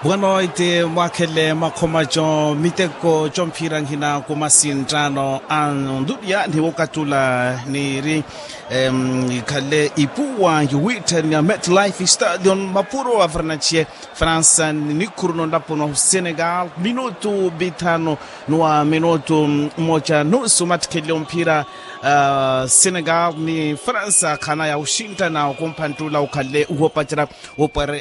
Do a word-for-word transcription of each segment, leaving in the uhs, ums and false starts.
Wano ite mwakhele makhomaco miteko comphira nghina kumasinttano a ndunia ni wokatula niri khale ipuwa yuwitthania metlife stadion mapuro a vernacie fransa ni nikhuru nonlapo nwa senegal minutu bithano nwa minutu moca nusu mattikhele omphira senegal ni fransa khana ya uxinttana okumpanttula ukhale uhopacerya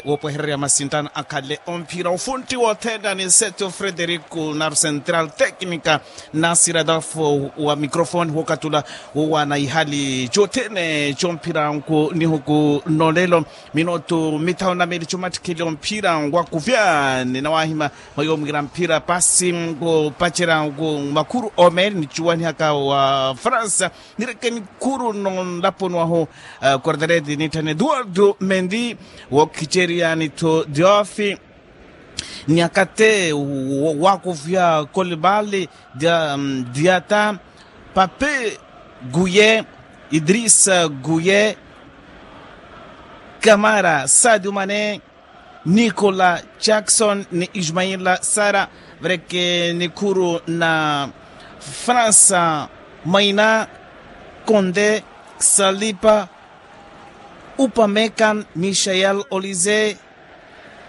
wopwehererya masinttano akhale omphira ofuntti wothene ni seto frederico na central tecnica nasira adolfo wa microfone wokatula wowana ihali cothene comphira nku nihuku nolelo minutu mithanu na mili comattikheli omphira ngwakuvya ni nawahima mwayo mwira mphira pasi nkupacerya nku makhuru omeli ni cuwanihaka wa fransa nireke nikhuru nonlapo nwahu kordereti nitthani eduardo mendi wookhicerya nitho diofi niakate wakuvya kolibali diata pape guye idrisa guye kamara sadio mane nicola jackson ni ismaila sara vereke nikhuru na fransa maina konde salipa upamekan michael olize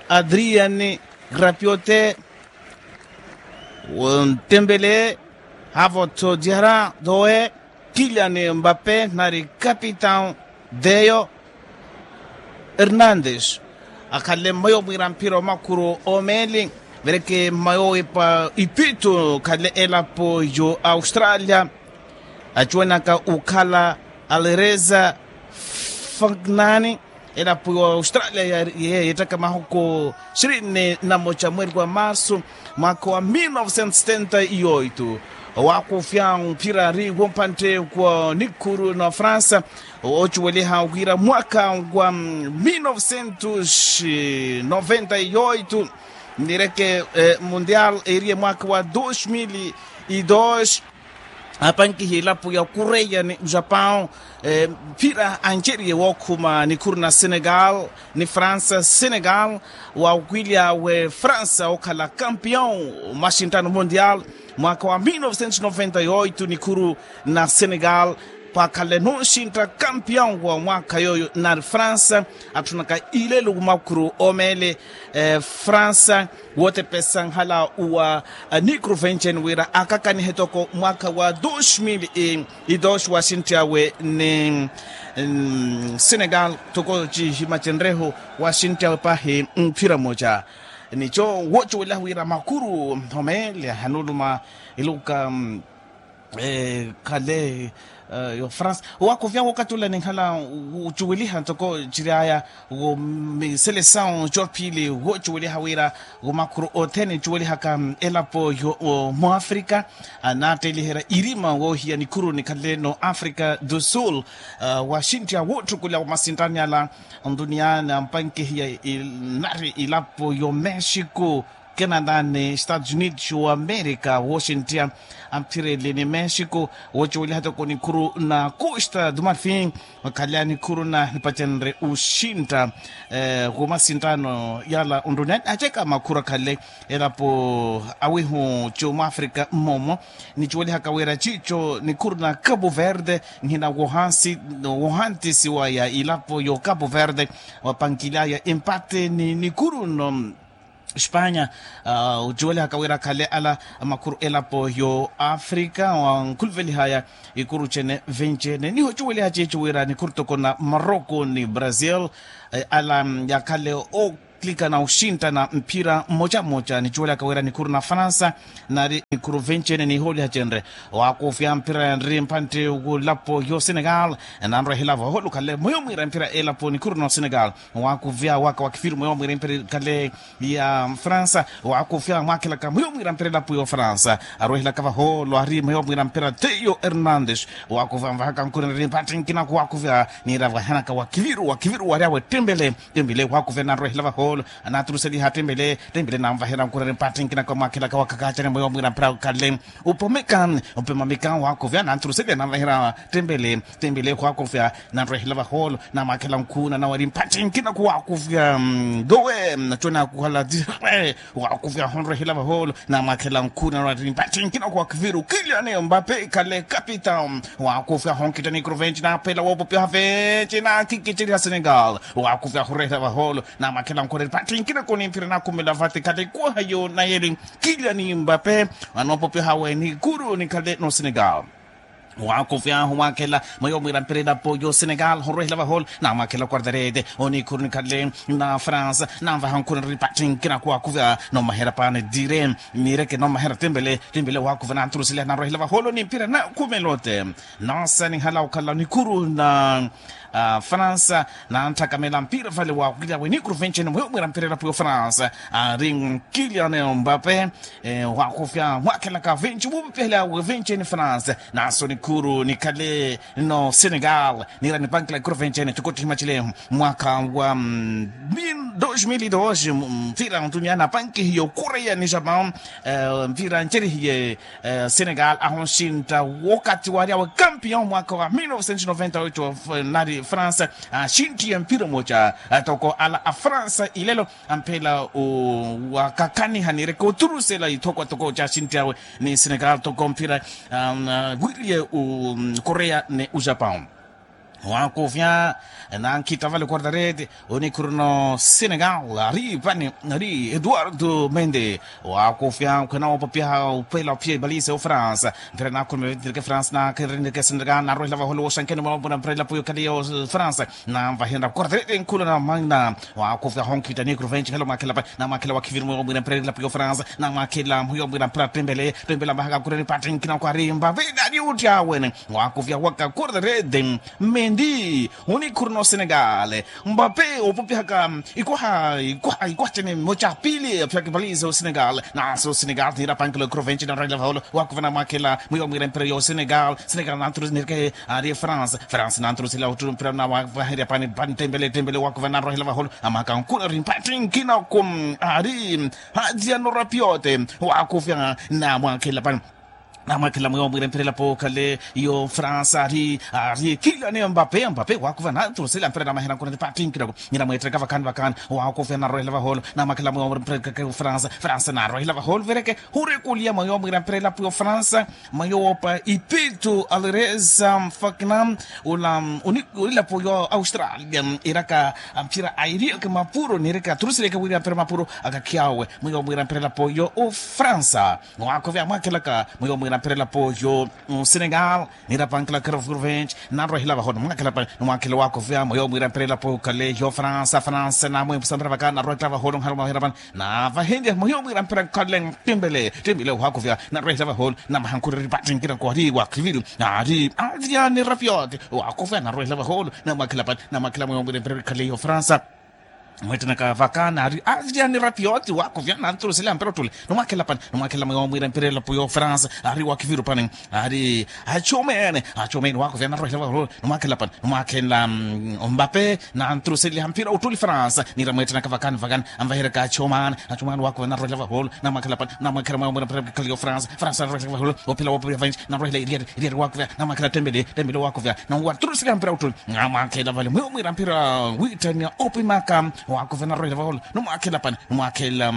adrian grapiote ntembele havotho diara doe kilian mbape nari kapitan deyo hernandes akhale mmayo mwira mphira omakhuru omeli vereke mmayo ipa ipitu khale elapo yo australia acuwanaka ukhala alereza fagnani elapo yo australia yeettaka mahuku sirini na moca mweri wa marsu mwaka wa mil novecentos setenta e oito owakufya mphira ari wompantte kwa nikhuru na fransa ocuweliha wira mwaka wa mil novecentos noventa e oito nireke mundial eriye mwaka wa dos mil e dos apankihi elapo ya kureya ni japão mphira anceriye wookhuma nikhuru na senegal ni fransa senegal wawukilya we fransa okhala campeão maxinttano mundial mwaka wa mil novecentos noventa e oito nikhuru na senegal pakhale nunxintta campeão wa mwaka yoyo nari fransa atthunaka ilelo kumakhuru omele fransa wootepesa nhala uwa nikuru venceni wira akakanihe toko mwaka wa dos mil e dos waxinttyawe ni senegal toko cihimacenrehu waxinttyawe pahi mphira moca nico wocuwelaha wira makuru homele hanuluma iluka khale yo france owakuvya wokatula ninkhala ucuweliha ntoko ciryaya wo miselesawu cophili wocuweliha wira womakhuru othene cuwelihaka elapo yo mwafrika anattelihera irima wohiya nikhuru nikhaleno africa do sul waxinttya wotthukulya wa masintani ala nduniani ampankihiya inari ilapo yo mexico canada ni estados unidos wa america woxinttya amphireli ni mexico wocuweliha toko nikhuru na costa do marfin wakhalya nikhuru na nipacenre uxintta kumasinttano yala onduniani aceka makhuru akhale elapo awihu cumwafrika mmomo nicuwelihaka wira cico nikhuru na cabo verde nhina wohantisiwa ya ilapo yo cabo verde wapankilyaya empate ni nikhuru no espanya ocuwelihaka wira akhale ala makhuru elapo yo africa wankhuluvelihaya ikuru cene vencene niho ocuweliha ceco wira nikhuru toko na morocco ni brazil ala yakhale o klika na oxintta na mphira mmoca mmoca nicuwelaka wira nikhuru na fransa nari nikhuru vencene nihooliha cenre owakufya mphira yanri mphantte wulapo yo senegal nanrwehela vaho lukhale moyo mwira mphira elapo nikhuru na osenegal owakufya waka wa kifiru moyo mwira mphira ikhale ya fransa owakufya mwakhelaka moyo mwira mphira elapo yo fransa arwehelaka vaho lwari moyo mwira mphira teyo hernandes owakufya mvahaka nkhuri nari mphantte nkinaku owakufya nira vahenaka wa kifiru wa kifiru wari awe ttembele embile owakufya nanrwehela vaho Ananturuseliha tembele tembele nanvaherya nkureri mpattinkina kwa mwakhelaka wa kakacani mweyo mwira mpira kale. Upomeka upemamika waakuvya ananturuseliha nanvaherya tembele tembele waakuvya nanrwehela vaholo namwakhela nkhuna nawari mpattinkina kwa waakuvya. Dowe nachona kuhala dire waakuvya honrwehela vaholo namwakhela nkhuna nawari mpattinkina kwa waakuvira ukiliyane mbape kale kapita. Waakuvya honkita ni kruvenci naphela woopopiha venci nakhikiceriha senegal. Waakuvya horwehela vaholo namwakhela nkhureri pattinkina koni mphira nakhumela vate khale kuhayo nayeli. Kiliyani mbape anoopopiha we nikuru nikhale no senegal. Waakuvya humwakhela mweyo mwira mpira elapo yo senegal horwehela vaholo namwakhela quartarete onikhuru nikhale na france nanvaha nkhureri pattinkina kwa waakuvya nomaherya pani dire. Nireke nomaherya tembele tembele waakuvya nanturuseliha narwehela vaholo ni mphira nakhumelote. Noosanihala okhala nikuru na fransa nanthakamela mpira vale waakilya we nikuru venceni mweyo mwira mpira elapo yo fransa ari kilian mbape. Waakufya mwakhelaka venci wupipihela we venceni fransa naso nikuru nikhale no senegal nira nipankila ikuru venceni tikottihimacile mwaka wa dos mil dos mpira ntunyana pankihiye okureya ni japan. Mpira ncerihiye senegal ahunxintta wokatti waryawe campion mwaka wa mil novecentos noventa oito nari fransa axintthiye mpira omoca toko ala a fransa ilelo amphela wakakaniha nireke oturusela ithokwa toko caxintthiyawe ni senegal toko mpira wiriye okoreya ni ujapão. Waakufya nankhitta vale quartarete onikhuru no senegal ari pani ari eduardo mende. Waakufya khwena woopopiha uphela ophiya ibalise ofransa mpira nakhulumela vetinireke fransa nakhirinireke senegal narwehela vaholo woxankeni mwampuna mpira elapo yokhaliya ofransa nanvahenra quartarete nkhula na mangna. Waakufya honkhitta nikuru venci hela omwakhela pani namwakhela wakhiviri mwiyo mwira mpira elapo yofransa namwakhela mwiyo mwira mpira tembele tembele amahaka kureni pati nkina kwari mbaveda ari utti awene. Waakufya waka quartarete mendi onikhuru no senegal. Mbape opopihaka ikwaha ikwaha ikwaha cene moca pili aphiyaka ipaliza osenegal naso senegal nira pankelo ikrovenci narwahela vaholo. Wakuva namwakhela mwiyo mwira mpira yo senegal senegal nanturusi nirike ari france france nanturusila otturu mpira nawavaherya pani pani tembele tembele wakuva narwahela vaholo amaka nkuna ri mpati nkina ku ari hadiya norapiote. Wakufya namwakhela pani namwakhela mwiyo mwira mpira elapo khale yo fransa ari ari kiliyane mbape mbape wakuva nanturusila mpira namahera nkuna ri pati nkina ku nira mwetteka vakani vakani. Waakufya narwahela vaholo namwakhela mwiyo mwira mpira elapo yo fransa fransa narwahela vaholo vereke hurekuliya mwiyo mwira mpira elapo yo fransa mwiyo woopa ipittu alireza mfakina ula onilapo yo australia iraka mpira airiyeke mapuro nireke aturusileke wiriya mpira mapuro akakhiyawe mwiyo mwira mpira elapo yo ofransa. Waakhovya mwakhelaka mwiyo mwira mpira elapo yo senegal nira pankila kero vurvenci narwahela vaholo nimwakhela pani nimwakhela waakhovya mwiyo mwira mpira elapo khale yo fransa fransa namwempusa mpira vakani narwahela vaholo nhala mwahera pani navahenrya mwiyo mwira mpira khale timbele timbele waakhovya narwahela vaholo namahankhureri pati nkina kwari wakhiviri ari adrian rapiot. Waakhovya narwahela vaholo namwakhela pani namwakhela mwiyo mwira mpira khale yo fransa mwettenaka vakani ari adrian rapiot waakhovya nanturusela mpira ottule nimwakhela pani nimwakhela mwiyo mwira mpira elapo yo fransa ari wakhiviru pani ari achomene achomene waakhovya narwahela vaholo nimwakhela pani nimwakhela mbape nanturuseliha mpira ottuli fransa nira mwettenaka vakani vakani anvahereka achomene achomene waakhovya narwahela vaholo namwakhela pani namwakhela mwiyo mwira mpira khale yo fransa fransa narwahela vaholo ophela woopira vanci narwahela iriyari iriyari waakhovya namwakhela tembele tembele waakhovya nawaturuseliha mpira ottuli namwakhela vale mwiyo mwira mpira wittaniya opimaka. Waakhovya narwahela vaholo nimwakhela pani nimwakhela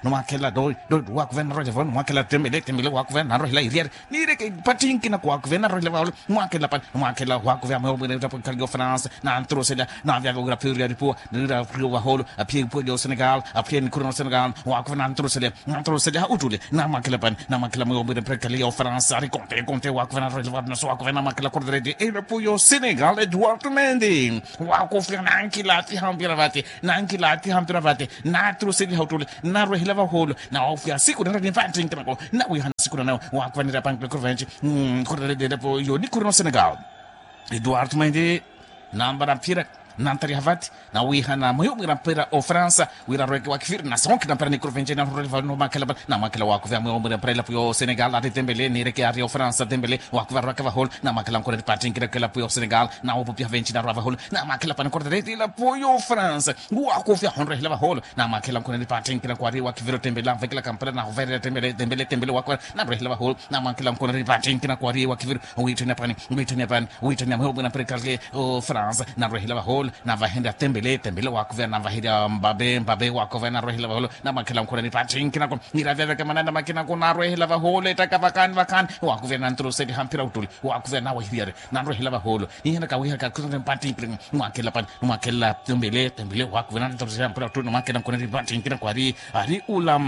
nimwakhela doi doi waakhovya narwahela vaholo nimwakhela tembele tembele waakhovya narwahela iriyari nireke pati nkina waakhovya narwahela vaholo nimwakhela pani nimwakhela waakhovya mwiyo mwira mpira khale yo fransa nanturusela navyavya wira phiyo iriyari puwa nira phiyo vaholo aphiye ipuwa yo senegal aphiye nikhuru no senegal waakhovya nanturusela nanturusela ha ottule namwakhela pani namwakhela mwiyo mwira mpira khale yo fransa ari konte konte waakhovya narwahela vaholo naso waakhovya namwakhela quartarete elapo yo senegal eduardo mendi. Waakhovya nankilaatiha mpira vate nankilaatiha mpira vate naturuseliha ottule narwahela vaholo nawaofya siku nara ni pati nkina ko nawihana siku nanawe waakhuvanira pankile kuru venci kuru rede elapo yo nikhuru no senegal eduardo mendi nambara mpira Nantariha vati nawihana mweyo mwira mpira ofransa wira arweke wakifiri nasonkhina mpira ni kurvenje na rureli vano makela namwakela wakuvya mweyo mwira mpira ilapu yo senegal ati tembele nireke ari ofransa tembele wakuvya arweke vaholo namwakela nkureri patinkira kelapu yo senegal nawopupiha venji narwa vaholo namwakela pani kureri ilapu yo fransa wakuvya honrehela vaholo namwakela nkureri patinkira kwari wakiviri tembele anvekela kampela nahuverera tembele tembele tembele wakuvya nanrehela vaholo namwakela nkureri patinkira kwari wakiviri witthene pani witthene pani witthene mweyo mwira mpira kale o fransa nanrehela vaholo navahenrya tembele tembele wakuvya navaherya mbabe mbabe wakuvya nanrehela vaholo namwakela nkureri patinkira ko niravyaveka manana makina ko narwehela vaholo etaka vakani vakani wakuvya nanturuseli hampira utuli wakuvya nawahiriyari nanrwehela vaholo nihenaka wihaka kutonde mpatinkira mwakela pani mwakela tembele tembele wakuvya nanturuseli hampira utuli mwakela nkureri patinkira kwari ari ula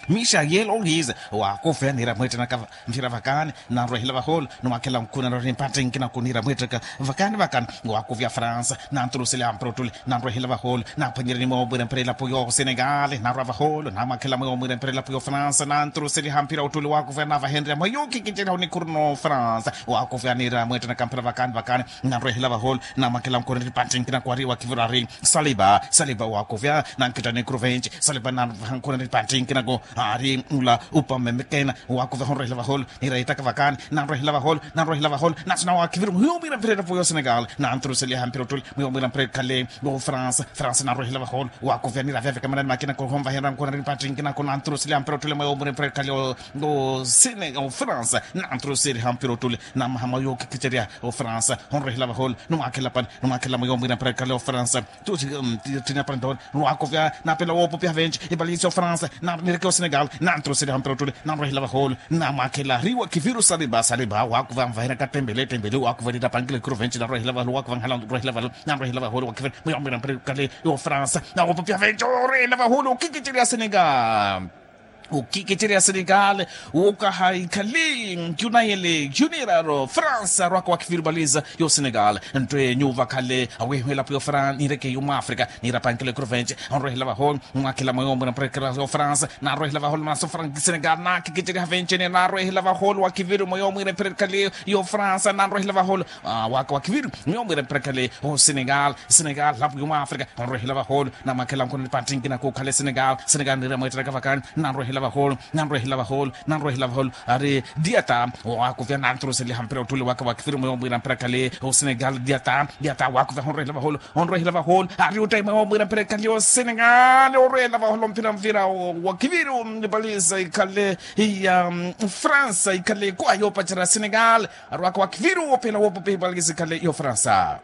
mixa yelo lize wakuvya nira mwettenaka mphira vakani nanrwehela vaholo numwakela nkunanori mpattenkina kunira mwettenaka vakani vakani wakuvya fransa nanturuseli hampira utuli nanrwehela vaholo naphwanyereni mweyo mwira mpira ilapu yo senegal narwa vaholo namwakela mweyo mwira mpira ilapu yo fransa nanturuseli hampira utuli wakuvya navahenrya mweyo kikiceriha onikhuru no fransa wakuvya nira mwettenaka mphira vakani vakani nanrwehela vaholo namwakela nkunanori mpattenkina kwari wakivira ari saliba saliba wakuvya nankittani kruvenci saliba nanvaha nkunanori pattinkina ko ari ula upamemekena wakuva honrehela vaholo niraitaka vakani nanrwehela vaholo nanrwehela vaholo nasina wakiviri mwiyo mwira mpira etapu yo senegal nanturuseliha mpira otuli mwiyo mwira mpira ekhale o fransa fransa nanrwehela vaholo wakuvya niravyaveka manani makina ko honvahenra nkunanori pattinkina ko nanturuseliha mpira otuli mwiyo mwira mpira ekhale o sene o fransa nanturuseliha mpira otuli namaha mwayo kikiceriha o fransa honrehela vaholo numwakela pani numwakela mwiyo mwira mpira ekhale o fransa tuti tina pantoni nwakovya napela wopopiha venci ipalisi o fransa nireke o senegal nantrosele hampira otule nanrohela vaholo namwakela riwa kiviru saliba saliba wakuva nvahela katembele tembele wakuva nitapangile kiro venci narwehela vaholo wakuva nhala nrohela vaholo nanrohela vaholo wakiviru muyambwira mpira kale yo fransa nawopopiha venci orwehela vaholo kikicili ya senegal ukikiciri ya senegal wokahaikali yunayele yuniraro fransa rwaka wa kifiribaliza yo senegal nto yenyu vakhale awehwelapo yo fran nireke yo mwafrika nirapankelo ekrovenci onrohela vaho mwakhela mweyo mwira mperekera yo fransa narwehela vaholo maso frank senegal nakikiciri havencene narwehela vaholo wa kiviri mweyo mwira mperekali yo fransa nanrohela vaholo waka wa kiviri mweyo mwira mperekali o senegal senegal lapo yo mwafrika onrohela vaholo namwakhela nkhuna nipattinkina kukhale senegal senegal nira mweetteraka vakani nanrohela vaholo nanrohela vaholo nanrohela vaholo ari diata wakuvya nanturuseliha mpira ottuli waka wakifiri mweyo mwira mpira khale o senegal diata diata wakuvya honrohela vaholo onrohela vaholo ari utaima wo mwira mpira khale o senegal onrohela vaholo mpira mpira wakiviri nipalisa ikhale ya fransa ikhale kwa yopacerya senegal ari waka wakiviri wopela wopopehi palisa ikhale yo fransa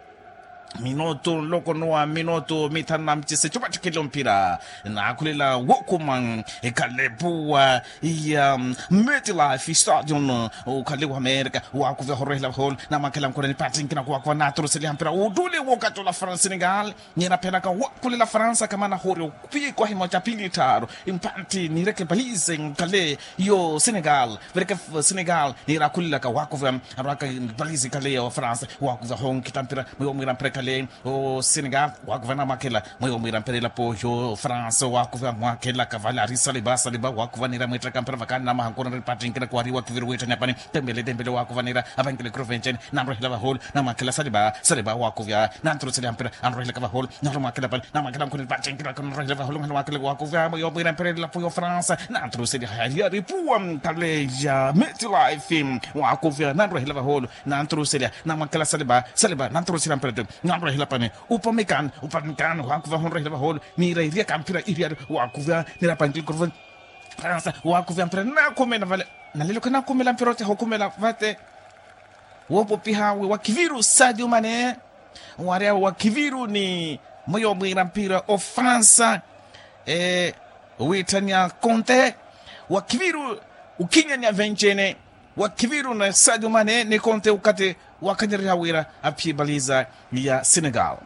minutu nloko nuwa minutu mithanu na micise cupatthikhile omphira naakhulela wokuma ekhalepuwa ya metlife stadion okhale wa amerika wakuvya horwehela holo namwakhela nkhuna nipattinkina kuwakuva naturuseliha mpira uttuli wokatula fransa senegal ninaphenaka wakhulela fransa kamana hori opikwahi moca pili tthaaru mpatthi nireke palisa nkhale yo senegal vereke senegal nira akhulilaka wakuva arwaka valisi ikhale ya ofransa wakuva honkita mpira mwiwo mwira mpira ikhale o senegal wakuva namwakhela mwiwo mwira mpira ilapo yo ofransa wakuva mwakhelaka vale ari saliba saliba wakuva nira mwittaka mpira vakani namaha nkunanri pattinkina kwari wakiviri witthani apani tembele tembele wakuva nira apankile kiro venceni nanrohela vaholo namwakhela saliba saliba wakuvya nanturuseliha mpira anrohelaka vaholo nanromwakhela pale namwakhela nkhuni pattinkina nanrohela vaholo nanromwakhela wakuvya mwiwo mwira mpira ilapo yo ofransa nanturuseliha yari yaripuwa khale ya metlife wakuvya nanrohela vaholo nanturuseliha namwakhela saliba saliba nanturuseliha mpira nanrohela pani upamikan upamikan wakuvya honrohela vaholo nirairiyaka mpira iriyari wakuvya nirapankile kiro venceni fransa wakuvya mpira nakhumela vale nalelo khanakhumela mpira oteha okhumela vate wopopiha we wa kiviru sadio mane wari awe wa kiviru ni mweyo mwira mpira ofransa witthania konte wa kiviru ukhinyania vencene wa kiviru na sadio mane ni konte ukhate wakhanyereriha wira aphiye baliza ya senegal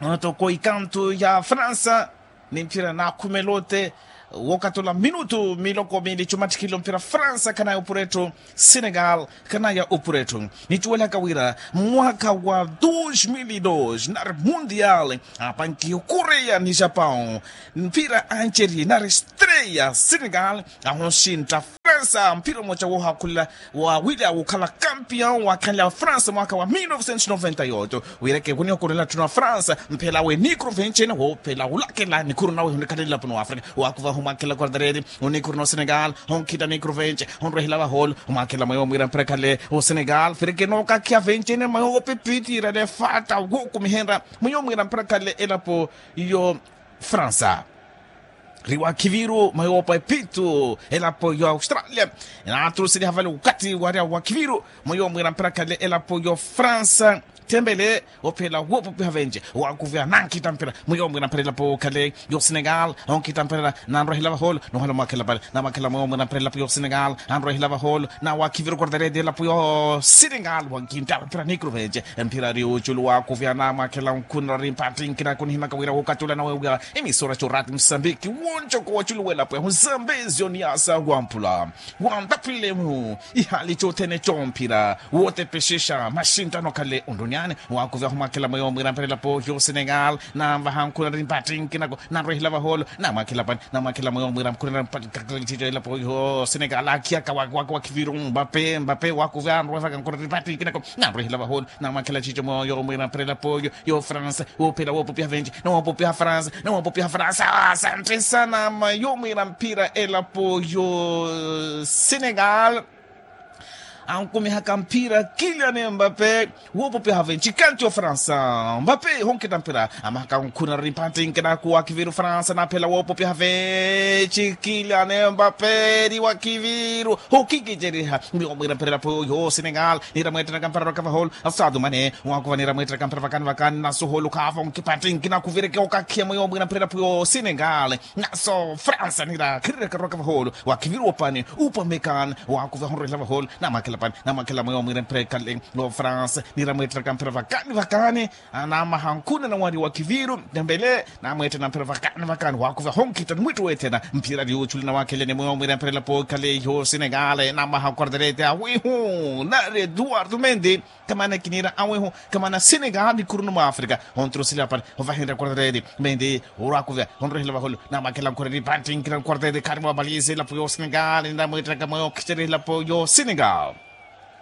onoto ko ikantu ya fransa ni mphira naakhumela ote wokatula minutu miloko miili cumattikhile omphira fransa khanaya opurettu senegal khanaya opurettu nicuwelaka wira mwaka wa dos mil e dos nari mundial apankiye okoreya ni japão mphira anceri nari streya senegal ahonsintta fransa Fransa mpira mmoja woohakhulela wawila wukhala kampion wakhanela fransa mwaakha wa mil novecentos noventa e oito. Wireke wunihokolela tthuna fransa mphela we nikuru venci ene woophela wulakela nikuru nawe hunikhalela pano afrika. Wakuva humwakhela quartareti, onikuru no senegal, honkhita nikuru venci, honrwehela vaholo, humwakhela mweyo mwira mpira khale o senegal fireke nookakhiya venci ene mweyo woopipitira nefata wookumihenra. Mweyo mwira mpira khale elapo yo fransa. Riwakhiviru mayopa epitu elapo yo australia. Naturuseliha vale ukati waria wakhiviru mayo mwira mpira khale elapo yo fransa. Tembele ophela wopupiha venje wakuvya nankhita mpira mayo mwira mpira elapo khale yo senegal. Onkhita mpira nanrohela vaholo nohala mwakhela pale namakhela mayo mwira mpira elapo yo senegal. Anrohela vaholo nawakhiviru kordaredi elapo yo senegal wankinta mpira nikru venje. Mpira ri uchulu wakuvya namwakhela nkhunira rimpattinkina kunihimaka wira wokatula nawe wira emisora corati musambiki wonjoko waculuwela pwehu zambezio ni asa wampula wantapwilemu ihali cothene comphira wotepexexa maxintano khale onduniani. Wakuvya humwakhela mweyo mwira mperela poohi osenegal nanvaha nkhuna rimpattinkinako nanrwehela vaholo namwakhela pani namwakhela mweyo mwira nkhuna rimpattinkinako. Poohi osenegal akhiyaka wakiwaki wakhiviru mbape mbape wakuvya anrwevaka nkhuna rimpattinkinako nanrwehela vaholo. Namwakhela cico mweyo mwira mperela poohi yo fransa woophela woopopiha venci nawoopopiha fransa nawoopopiha fransa. Asante sana mayo mwira mpira elapo yo senegal. Ankumihaka mpira kilian mbape woopopiha venci kanti yo fransa mbape honkita mpira amahaka nkhuna rimpattinke nakuwa kiviru fransa naphela woopopiha venci kilian mbape eri wa kiviru. Hokikiceriha mwiyo mwira mpira elapo yo senegal nira mweettenaka mpira rwaka vaholo asadu mane wakuva nira mweettenaka mpira vakani vakani naso holo khaavo nkipattinki nakuvireke okakhiya mwiyo mwira mpira elapo yo senegal naso fransa nira khirireka rwaka vaholo wakhiviru opani upamekani wakuva honrwehela vaholo namwakhela pani namwakhela mwiyo mwira mpira ekhale yo fransa nira mweettenaka mpira vakani vakani. Namaha nkhuna nawari wakhiviru tembele namweettena mpira vakani vakani wakuva honkhita nimwittu weethena mpira ri uchuli nawakhelene mwiyo mwira mpira elapo ekhale yo senegal namaha quartarete awihu nari eduardo mendi. Kamana kinira awihu kamana senegal nikhurunu mwa afrika. Ontrusila pari ovahinra quartarete mendi orakuvya onrehela vaholo namwakhela nkhureri pantinkira quartarete khari mwa balize elapo yo senegal namweettenaka mwiyo khicerya elapo yo senegal.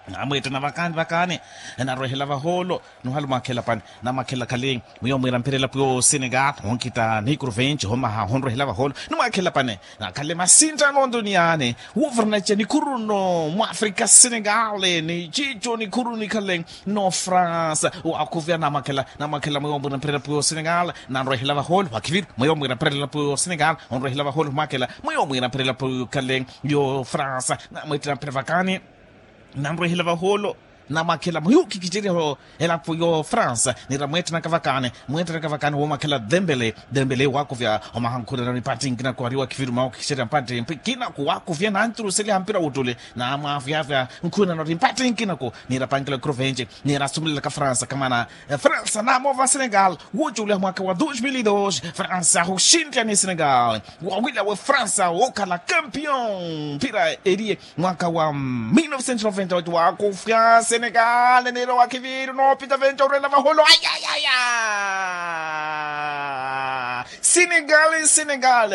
Namweettena vakani vakani narwehela vaholo nuhala mwakhela pani namwakhela khale mwiyo mwira mpira elapo yo senegal onkhita nikuru venci homaha honrwehela vaholo. Nimwakhela pani nakhale masinttano nduniani woovaranaca nikhuru no mwafrika senegal ni cico nikhuru nikhale no france. Wakhuvya namwakhela namwakhela mwiyo mwira mpira elapo yo senegal nanrwehela vaholo wakhiviru mwiyo mwira mpira elapo yo senegal onrwehela vaholo mwakhela mwiyo mwira mpira elapo yo khale yo france. Namweettena mpira vakani nanrwehela vaholo namwakhela muyuki kiceriho elapo yo fransa nira mweettenaka vakani mweettenaka vakani womwakhela dembele dembele wakuvya omaha nkhunano ni pati nkinako ariwa khiviru mawuki kicerya mpati nkinako wakuvya nanturuseliha mpira wuttuli namwavyavya nkhunano ri mpati nkinako nira pankela kiro venci nira sumulelaka fransa kamana fransa namoova senegal woculiha mwaka wa dos mil dos fransa huxinttya ni senegal wawila we fransa wokhala kampion mpira eriye mwaka wa mil novecentos noventa e oito wakufya senegal niro wakhiviru noopita venta orwela vaholo ayayaya senegal senegal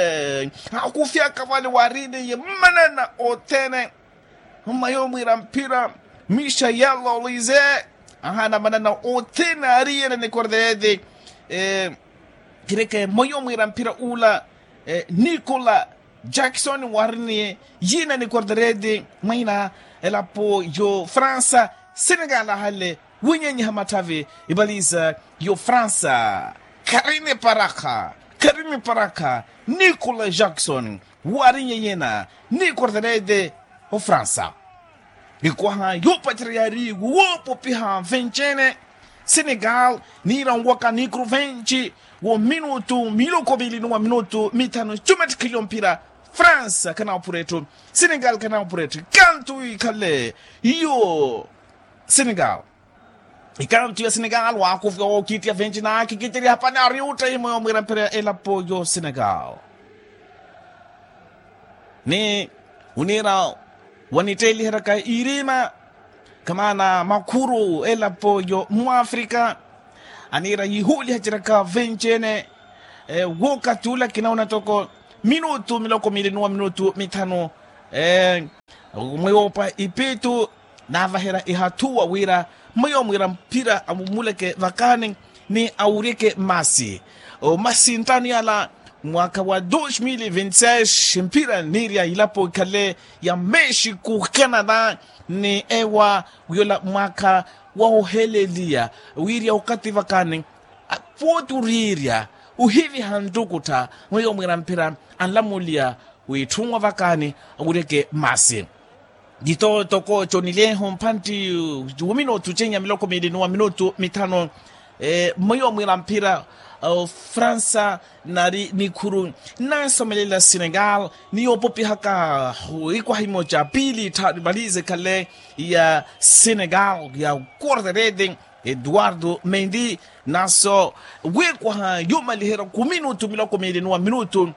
akufyaka vale wariniye manana othene mmayo mwira mpira misha yalolize ahana manana othene ariyene ni quartarete. Kireke mmoyo mwira mpira ula nikola jackson wariniye yina ni quartarete mwaina elapo yo fransa senegal ahale winyenyiha matthavi ivaliza yo fransa kharini parakha kharini parakha nikola jackson warinye yina ni quartarete ofransa. Ikwaha yoopacerya yaari woopopiha venci-ene senegal niira onwaka nikuru venci wo minutu miloko vili ni wa minutu mithanu cumettikheliyo mpira fransa khanawapura etthu senegal khanawapura etthu ikantu ikhale iyo senegal ikantu ya senegal waakuvya wookiittiya venci naakhikicerya hapani ari uttayi mweyo mwira mpira elapo yo senegal ni oniira wanitteeliheryaka irima kamaana makhuru elapo yo mwafrika aniira yihuulihaceryaka venci-ene wookathi ula kinauna toko minutu miloko miili ni wa minutu mithanu Mweyo pa ipitu naavaherya ihathuwa wira mweyo mwira mphira amumuleke vakani ni awuryeke masi. Omasintani ala mwaka wa dos mil vinti seis mphira niirya ilapo ikhale ya mexico canada ni ewa wiyola mwaka wa oheleliya wiirya okathi vakani. Pooti oriirya ohiviha ntukuttha mweyo mwira mphira anlamuliya wiitthunwa vakani awuryeke masi. Tito toko conileho mphantti wa minutu cenya miloko miili ni wa minutu mithanu. Mweyo mwira mphira fransa nari nikhuru naasomelela senegal ni yoopopihaka ikwaha imoca piili tthanu imalize khale ya senegal ya corderete. Eduardo mendi naso wekwaha yomaliherya ku minutu miloko miili ni wa minutu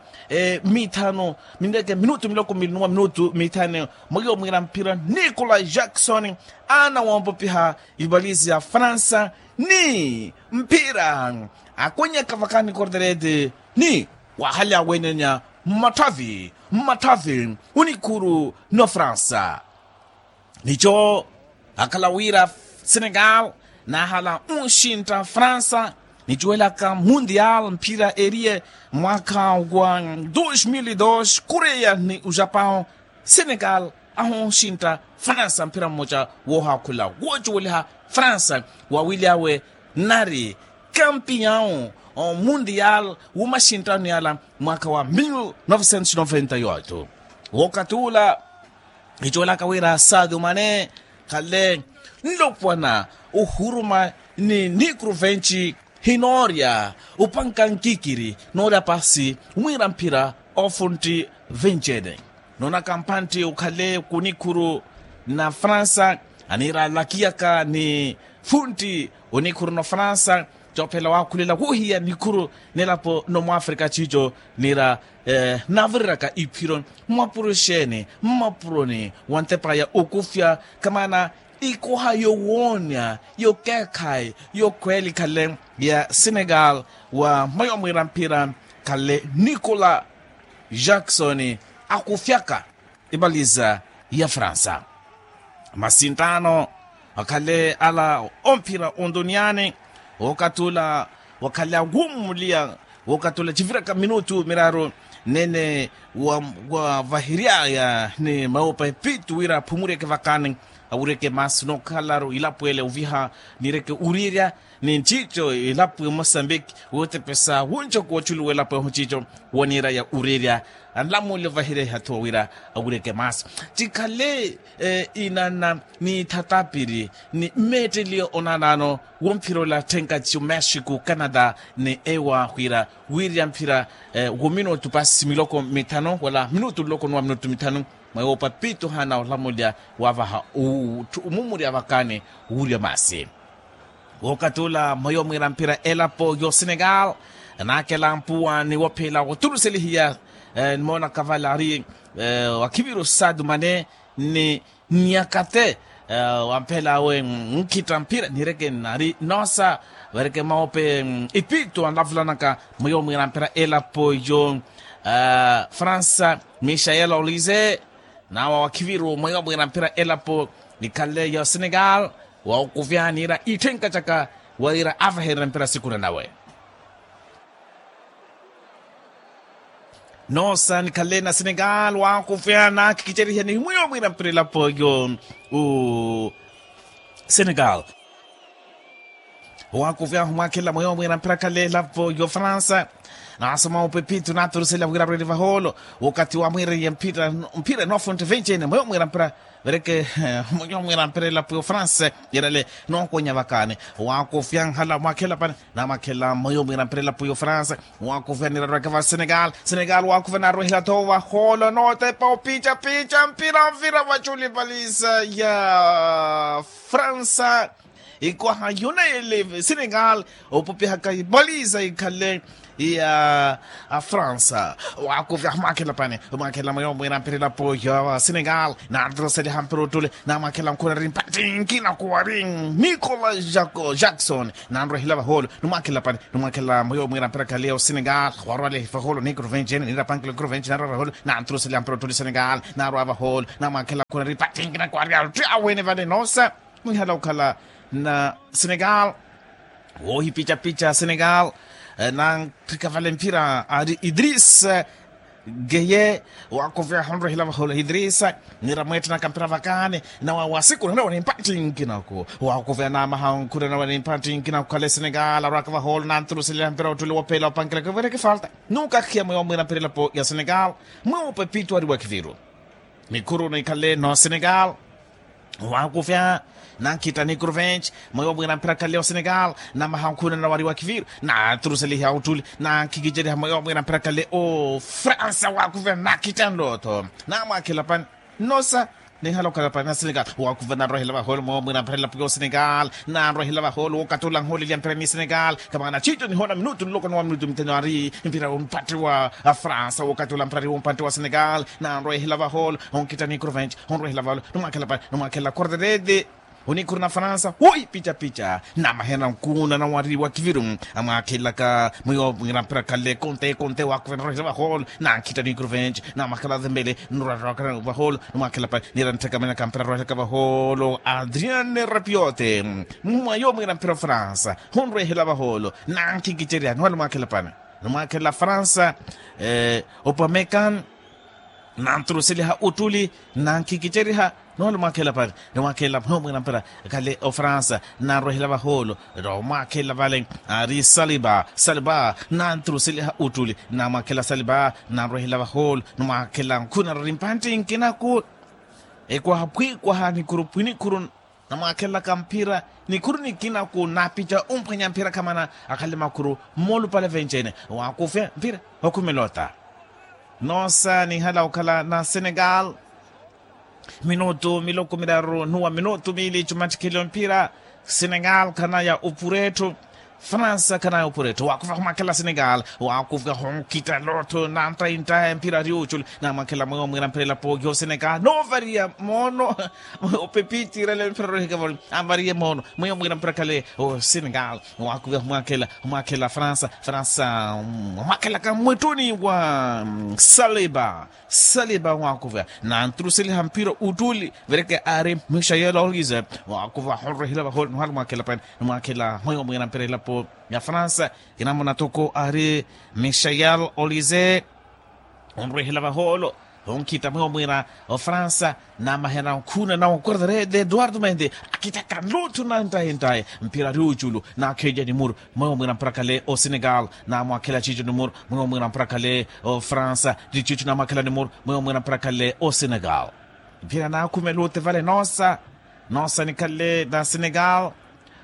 mithanu mineke minutu miloko miili ni wa minutu mithanu. Mweyo mwira mphira nicolas jackson anawoompopiha ivalizi ya fransa ni mphira akwenyaka vakani corderete ni wahalya wenenya mmatthavi mmatthavi onikhuru no fransa. Nico akhala wira senegal nahala onxintta fransa nicuwelaka mundial mphira eriye mwaka wa dos mil dos koreya ni ujapão. Senegal ahonxintta fransa mphira mmoca woohaakhula woocuweliha fransa wawilyawe nari kampiyawu mundial wumaxinttano yala mwaka wa mil novecentos noventa e oito. Wookatula icowelaka wira sadio mane khale nlopwana ohuruma ni nikruvenci hinoorya opanka nkikiri noorya pasi wira mphira ofuntti vencene. Noonaka mpantti okhale kunikhuru na fransa aniira alakiyaka ni funtti onikhuru na fransa. Coophela waakhulela wohiya nikhuru nelapo no mwafrika ciico niira naavureryaka iphiro mmapuro exeeni mmapuroni wa ntepa ya okufya kamaana ikoha yowoonya yokeekhayi yokhweelikhale ya senegal wa mweyo mwiira mphira khale nicolas jackson akufyaka ivaliza ya fransa. Masinttaano akhale ala omphira ontuniyaani wookatula wakhale awummuliya wookatula civiraka minutu miraaru nene wavahiryaya ni mawopa epitu wira aphumuryeke vakani awuryeke maasi nookhalaru ilapo ele oviha niryeke uriirya ni nciico ilapo emosambiki wootepesa wuncoku woculuwa elapo ehu nciico woniiraya uriirya anlamulya ovahiryaya hathuwa wira awuryeke maasi. Cikhale inana ni thatapiri ni mmeetteliyo onanano womphira ola thenkaci omexico canada ni ewa wira wiirya mphira wominutu pasi miloko mithanu wala minutu nloko ni wa minutu mithanu mwewo papito hana olamulya wavaha omumurya vakani wurya masi. Wookatula mweyo mwiira mphira elapo yo senegal naakela mpuwa ni wophela woturuselihiya nimoona kavala ari wakhiviru sadio mane ni nyakate wamphela awe nkhitta mphira nireke nari noosa vereke mawope ipitu anlavulanaka mweyo mwiira mphira elapo yo fransa michael olize nawa wakhiviru mweyo mwiira mphira elapo nikhale yo senegal waokuvya niira itthenka caka wira avahererya mphira sikuna nawe. Noosa nikhale na senegal waakuvya naakhikicerihe ni mweyo mwiira mphira elapo yo senegal. Owaakuvyahu mwaakhela mweyo mwiira mphira khale elapo yo fransa naasoma opepito naaturusela wira arwele vahoolo wokati wamwiireye mphira noofuntte vencene mweyo mwiira mphira vereke mweyo mwiira mphira elapo yo fransa yerale nookonya vakani. Owaakuvya nhala mwaakhela pani naamwakhela mweyo mwiira mphira elapo yo fransa owaakuvya nirarweke va senegal senegal owaakuvya naarwehela tho vahoolo nootepa opica pica mphira mphira vaculi valisa ya fransa ikwaha yoneyele senegal opopihaka ipaliza ikhale ya afransa. Waakuvya mwakhela pani, mwakhela mweyo mwira mpira elapo ya senegal. Nantruseliha mpira ottuli, namwakhela nkhuna ri mpattinkina kuwari nicolas jackson. Nanrwehela vaholo, nimwakhela pani, nimwakhela mweyo mwira mpira khale osenegal. Warwale vaholo ni kurvenci ene nirapankela kurvenci nanrwa vaholo. Nantruseliha mpira ottuli senegal, narwa vaholo namwakhela nkhuna ri mpattinkina kuwari awe ni vale nosa. Mwihala okhala na senegal. Woohipicapica senegal, nantthika vale mphira ari idris geye. Waakuvya honrwehela vaholo idris, nira mweettanaka mphira vakaani nawa wasikuna nawa ni mpattinkina ku waakuvya namaha onkhuna nawa ni mpattinkina ku khale senegal arwaka vaholo nantruseliha mphira ottuli wophela opankela kivireke falta. Nukakhiya mweyo mwira mphira elapo ya senegal. Mweyo pepittu ari wakiviru. Nikhuru nikhale no senegal. Waakuvya nankhitta ni kurvenci, mweyo mwira mphira khale o senegal. Namaha onkhuna nawari wakiviru, nantruseliha ottuli, nankhikiceriha mweyo mwira mphira khale o fransa waakuvya nankhitta nlotho. Namwakhela pani nosa, nihala okhala pani na senegal. Waakuvya narwehela vaholo mweyo mwira mphira elapo yo senegal. Nanrwehela vaholo wookatula nhooleliya mphira ni senegal. Kamana citto nihona minutu nloko ni wa minutu mitheno ari mpira wo mpattiwa a fransa wookatula mphira ari wo mpattiwa senegal. Nanrwehela vaholo, onkhitta ni kurvenci, onrwehela vaholo nimwakhela pani, nimwakhela korderede. Onikhuru na fransa wohipicapica namahena nkuuna nawari wakiviru. Amwakhelaka mwiyo mwira mphira khale konte konte waakuvya narwehela vaholo. Nankhitta ni kurvenci, namwakhela dhembele, nrwarwaka vaholo nimwakhela pani, nira nttheka mwenaka mphira arwehaka vaholo adrian rapiote. Mwayo mwira mphira ofransa, honrwehela vaholo nankhikiceriha niwali mwakhela pani, nimwakhela fransa. Opamekan, nantruseliha ottuli, nankhikiceriha, niwali mwakhela pani, nimwakhela mweyo mwira mphira khale ofransa. Nanrwehela vaholo, nimwakhela vale ari saliba saliba, nantruseliha ottuli namwakhela saliba. Nanrwehela vaholo nimwakhela nkhuna ri mpattinkina ku ekwaha pwiikwaha nikhuru pwinikhuru. Namwaakhelaka mphira nikhuru nikina ku napica omphwanya mphira khamana akhale makhuru. Mmoolupale venci-ene waakufya mphira okhumela ota. Noosa nihala okhala na senegal. Minutu miloko miraru nuwa minutu miili cumattikheliwe mphira. Senegal khanaya opura etthu. Fransa khanaya opura etthu waakufya humwakhela senegal waakufya hunkhitta lotho nantayi ntayi mphira ari oculi. Namwakhela mweyo mwira mphira elapo yo senegal noovariya moono. Opepittirele mphira rohikavoli anvariye moono mweyo mwira mphira khale o senegal. Waakufya humwakhela humwakhela fransa fransa. Humwakhelaka mmwettuni wa saliba. Saliba waakuvya nantruseliha mphira ottuli vereke ari michael olise. Waakuvya honrwehela vaholo niwali mwakhela pani nimwakhela mweyo mwira mphira elapo ya fransa. Kinamuna toko ari michael olise. Onrwehela vaholo onkhitta mweyo mwira ofransa namahena onkhuna na okorderede eduardo mende. Akhittaka nluthu nantayi ntayi mphira ari oculu nakheja nimuru. Mweyo mwira mphira khale osenegal namwakhela cico nimuru mweyo mwira mphira khale ofransa. Ti cico namwakhela nimuru mweyo mwira mphira khale osenegal. Mphira naakhumela ote vale noosa. Noosa nikhale na senegal.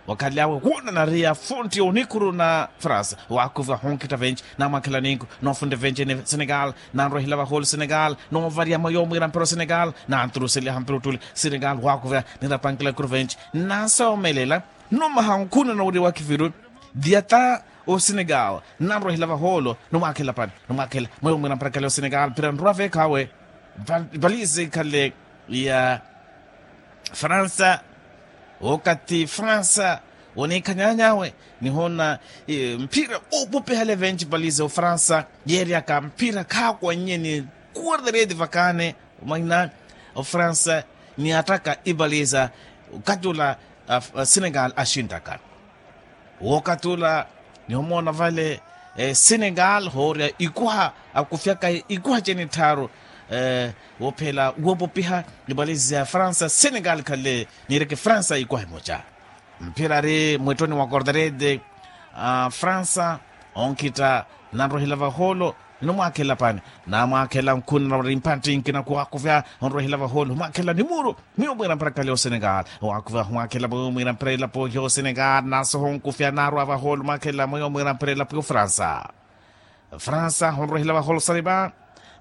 Wakhale awe woona nariya fonti onikhuru na fransa waakuvya honkhitta venci namwakhela ninku. Noofunte venci ene senegal nanrwehela vaholo senegal noovariya mweyo mwira mphira osenegal. Nantruseliha mphira ottuli senegal waakuvya nirapankela kurvenci nasoomelela. Nomaha onkhuna nawari wakiviru diyata osenegal. Nanrwehela vaholo nimwakhela pani nimwakhela mweyo mwira mphira khale osenegal mphira nrwa veekhawe. Valise ikhale ya fransa. Wokathi fransa woniikhanyanyawe nihoona mphira oopopihale venci valise ofransa yeeryaka mphira khaakwannyeni. Kuwardereti vakaane omwahina ofransa niyattaka ivaliza. Okathi ola senegal axinttaka wookathi ola nihomoona vale senegal hoorya ikuha akufyaka ikuha cene tthaaru. Woophela woopopiha ivalizi ya fransa senegal khale niireke fransa ikuha emoca. Mphira ari mwettoni wa korderete fransa onkhitta nanrwehela vaholo. Nimwakhela pani namwakhela nkhuna nawari mpattinkina kuwaakufya onrwehela vaholo humwakhela nimuru mwiyo mwira mphira khale osenegal. Waakufya humwakhela mwiyo mwira mphira elapo yo senegal nasoho nkufya naarwa vaholo mwakhela mwiyo mwira mphira elapo yo fransa. Fransa honrwehela vaholo saliba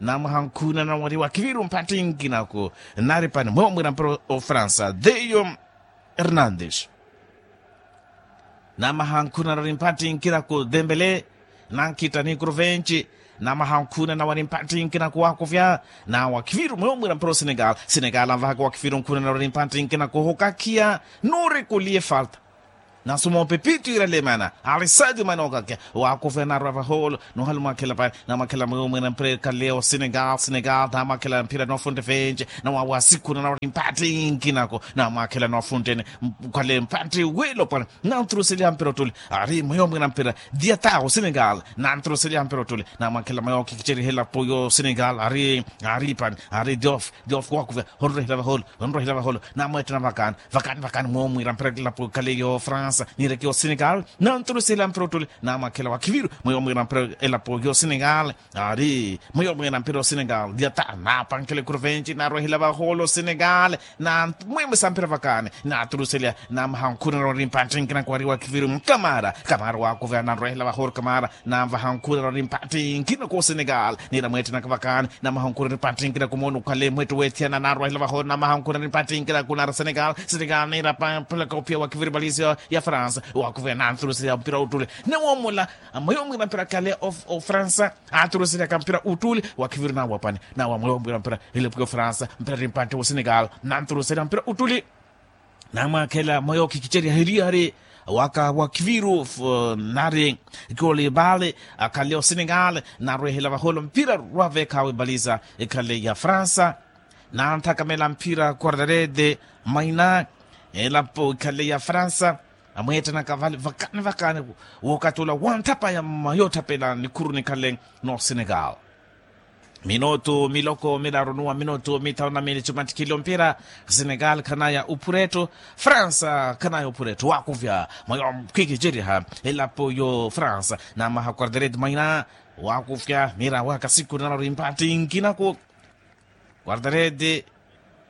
namwaha nkhuna nawari wakiviru mpattinkina ku nari pani mwiyo mwira mphira ofransa theyo hernandes. Namaha nkhuna nawari mpattinkina ku dembele. Nankhitta ni kuruventi. Namaha onkhunana wari mpattinkina kuwakuvya. Nawakhiviru mweyo mwira mpira osenegal. Senegal anvahaka wakhiviru onkhunana wari mpattinkina kuhukakhiya. Nuri kuliye falta. Nasumoope pitu iralemana. Ali sadio mane okakhiya. Wakuvya narwa vaholo nohali mwakhela pari. Namwakhela mweyo mwira mpira ekhale osenegal senegal namwakhela mpira nofunte venci. Nawawasikhunana wari mpattinkina ko. Namwakhela nofuntene. Khale mpatti wilo pari. Nanturuseliha mpira ottuli. Ari mweyo mwira mpira. Diata osenegal. Nanturuseliha mpira ottuli. Namwakhela mweyo kikiceriha elapo yosenegal ari. Ari pani. Ari diof. Diof wakuvya. Honrohela vaholo. Honrohela vaholo. Namwetena vakani. Vakani vakani mweyo mwira mpira elapo ekhale yofransa. Nireke osenegal. Nanturuseliha mpira ottuli. Namwakhela wakhiviru mweyo mwira mpira elapo yosenegal. Ari mweyo mwira mpira osenegal diata napankhela ekuruventi narwehela vaholo senegal. Namwimisa mpira vakani. Naturuselya. Namaha onkhunana wari mpattinkina kuwari wakhiviru kamara. Kamara wakuvya nanrwehela vaholo kamara. Namaha onkhunana wari mpattinkina ku senegal. Nira mwettenaka vakani. Namaha onkhunana mpattinkina ku mono khale mwettu wethiyana narwehela vaholo namaha onkhunana mpattinkina ku nara senegal senegal nira pamphulaka ophiya wakhiviru valisi ya fransa. Wakuvya nanturuselya mpira ottuli. Nawomola. Mweyo mwira mpira khale ofransa. Aturusirya kampira uttuli. Wakhiviru nawa pani. Nawa mweyo mwira mpira elapo yofransa mpira ri mpatthi wosenegal. Nanturusirya mpira uttuli. Namwakhela mweyo kikiceriha eriyari. Waka wakhiviru nari kolibali. Akhale osenegal. Narwehela vaholo mpira rwavekhawe baliza. Ekhale ya fransa. Nanthakamela mpira quartarede. Maina. Elapo ekhale ya fransa. Amweettanaka vale vakani vakani. Wookatula wanthapaya mmayoothapela nikhuru nikhale no senegal. Minutu miloko milaru nuwa minutu mithanu na mili cumattikhile ompira. Senegal khanaya uphuretto. Fransa khanaya uphuretto wakuvya mwayo. Khikiceriha elapo yo fransa namaha quartarede maina. Wakuvya mira wakasikhunana ori mpattinkinaku. Quartarede.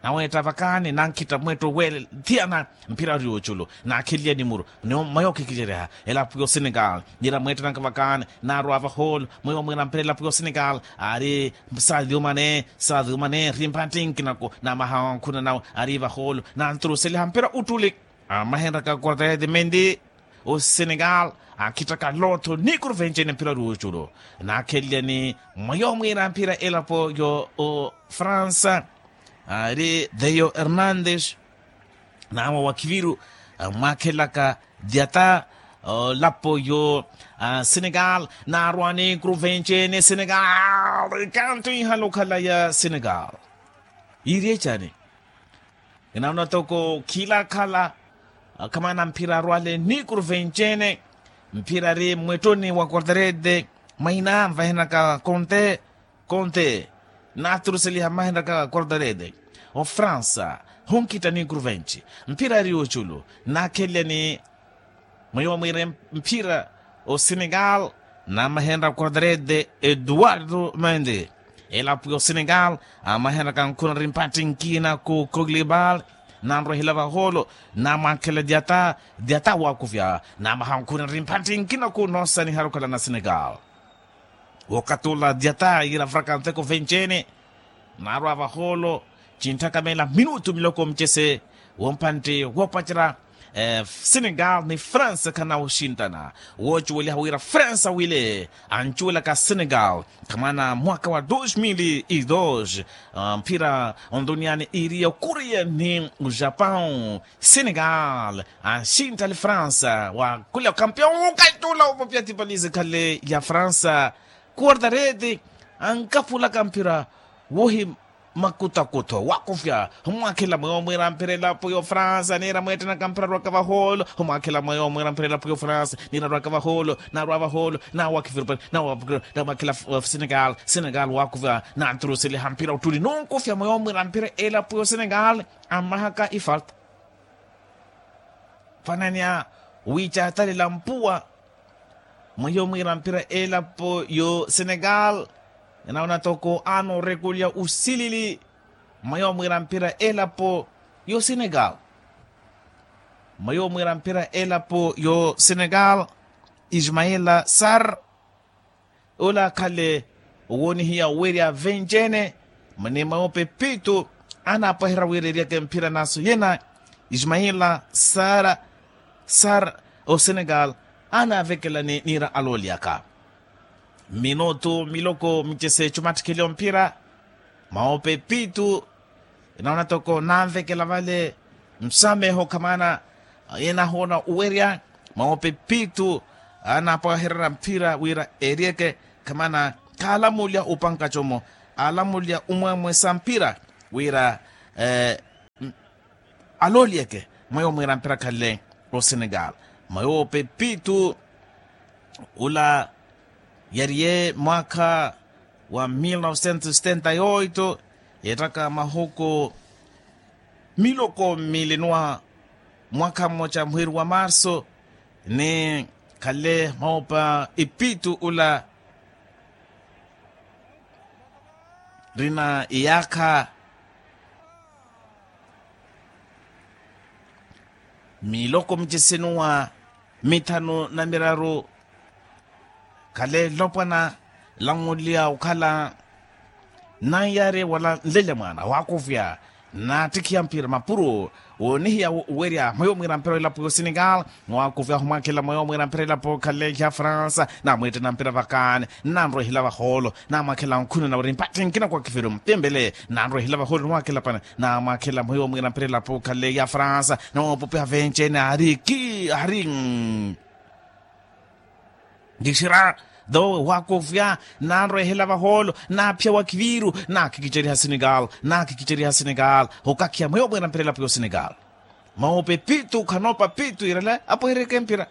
Naweetta vakani nankhitta mwetto wele thiyana. Mphira ori oculu. Nakhelliya nimuru. Mwayo khikiceriha elapo yo senegal. Nira mweettanaka vakani. Narwa vaholo mweyo mwira mpira elapo yo senegal. Ari sadio mane sadio mane ri mpattinkinaku. Namaha onkhunana nawe ari vaholo. Nanturuseliha mpira uttuli. Amahenraka quartarede mendi. Osenegal. Akhittaka lotho ni kuruventcene mpira ori oculu. Nakhellyani mwayo mwira mpira elapo yo ofransa. Ari theo hernandes. Nawe wakhiviru. Mwakhelaka diata. Lapo yo senegal. Narwani kuruventcene senegal. Kanto ihala okhala ya senegal. Iri ecani. Kinaona toko khilakhala. Khamana mphira arwale ni kuruventcene. Mphira ari mmwettoni wa quartarede. Maina mvahenaka konte. Konte. Naturuseliha mvahenaka quartarede. Ofransa. Hunkhitta ni kuruventci. Mphira ari oculu. Nakhellyani. Mweyo mwire mphira osenegal. Namahenra quartarede eduardo mende. Elapo yosenegal. Amahenraka nkhuna ri mpattinkina ku koglibal. Nanrwehela vaholo. Namwankhela diata. Diata wakuvya namaha nkhuna ri mpattinkina ku nosanihara okhala na senegal. Wookatula diata yira vuraka nteko venccene. Narwa vaholo. Cintthaka mela minutu miloko mcese. Wompantte woopacerya. Senegal ni fransa khanawoxintana. Woocuweliha wira fransa wile ancuwelaka senegal. Khamana mwaka wa dos mil e dos. Mphira onduniyani iriya okuriya ni ojapão. Senegal anxinttali fransa wa khuliya okampiyon okatula opopya tipalize khale ya fransa. Kuwartareti ankaphulaka mphira wohi makutakutho wakufya. Humwakhela mweyo mwira mphira elapo yo fransa niira mweettenaka mphira arwaka vaholo. Humwakhela mweyo mwira mphira elapo yo fransa niira arwaka vaholo. Narwa vaholo. Nawakhivirupani. Namwakhela senegal senegal wakufya. Nanturuseliha mphira ottuli nunkufya mweyo mwira mphira elapo yo senegal. Ammahaka ifalta. Fanania wiicaatalela mpuwa. Mweyo mwiira mphira elapo yo senegal. Ninaona toko ano rekulya usilili. Mweyo mwiira mphira elapo yo senegal. Mweyo mwiira mphira elapo yo senegal. Ismaila sar. Ola akhale owoonihiya owerya venjene. Mani mawope pitu anaapaherya wira eryaka emphira naso yena. Ismaila sara sara osenegal anaavekelani niira aloolyaka. Minutu miloko micese cumattikheliwa mphira. Mawope pitu. Enawona toko nanvekela vale nsameho khamana yenahoona owerya. Mawope pitu anapwahererya mphira wira eriyeke khamana khalamulya opanka como. Alamulya omwemwesa mphira wira alolyeke mweyo mwiira mphira khale. Osenegal mweyo opepitu ula yariye mwaakha wa mil novecentos setenta e oito yeettaka mahuku miloko mili nwa mwaakha mmoca mwiiri wa marso ni khale mwawopa epitu ula rina iyaakha miloko miceseni wa mithanu na miraru khale nlopwana lanwuliya okhala nanyaari wala nlelya mwaana waakuvya naattikhiya mphira mapuro woonihiya owerya mweyo mwiira mphira elapo ya osenegal. Mwaakuvya ahumwaakhela mweyo mwiira mphira elapo khale ya fransa namweettena mphira vakaani nanrwehela vahoolo namwaakhela nkhununa wari mpatthi nkina kwa kiviru ntembele nanrwehela vahoolo nimwaakhela pana namwaakhela mweyo mwiira mphira elapo khale ya fransa nawopupiha venci-ene ari ki ari nkixira tho waakuvya nanrwehela vahoolo naaphiya wa kiviru naakhikiceriha senegal naakhikiceriha senegal okakhiya mweyo mwiira mphira elapo ya osenegal. Mawope pitu khanoopa pitu irale apohereke mphira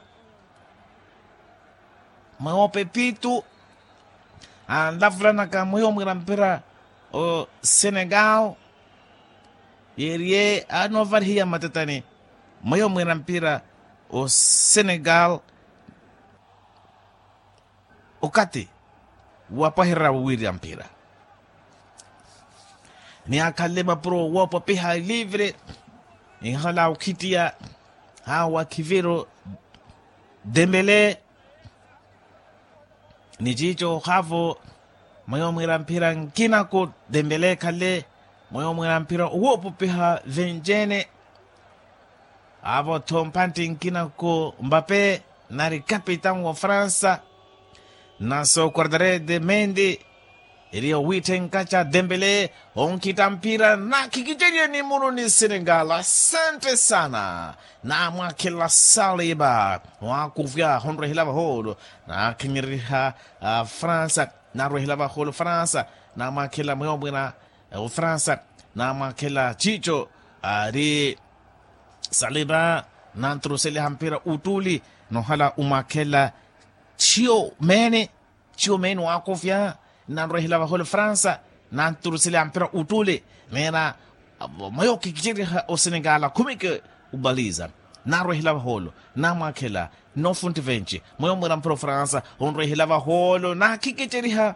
mweyo opepitu anlavulanaka mweyo mwiira mphira osenegal yeeriye anoovarihiya matatani mweyo mwiira mphira osenegal okati wapwahererya wiirya mphira ni akhanle mapuro woopopiha livre ihala okhittiya hawa khiviru dembele ni ciico haavo mweyo mwiira mphira nkinako dembele khale mweyo mwiira mphira owoopopiha venci-ene haavo-tho mphantti nkinako mbape nari kapitan wa fransa naso quartarede mendi eri owiitthenkaca dembele onkhitta mphira nakhikiceriye ni muruni senegal asante sana namwaakhela saliba waakuvya honrwehela vahoolo naakhinyereriha fransa narwehela vahoolo fransa namwaakhela mweyo mwiira ofransa namwaakhela ciico ari saliba nanturuseliha mphira uttuli nohala omwaakhela ciyo meene ciyo meene waakuvya nanrwehela vahoolo fransa nanturuseliha mphira uttuli meena mweyo khikiceriha osenegala khumeke obaliza narwehela vahoolo namwaakhela nofuntti venci mweyo mwiira mphira ofransa onrwehela vahoolo nakhikiceriha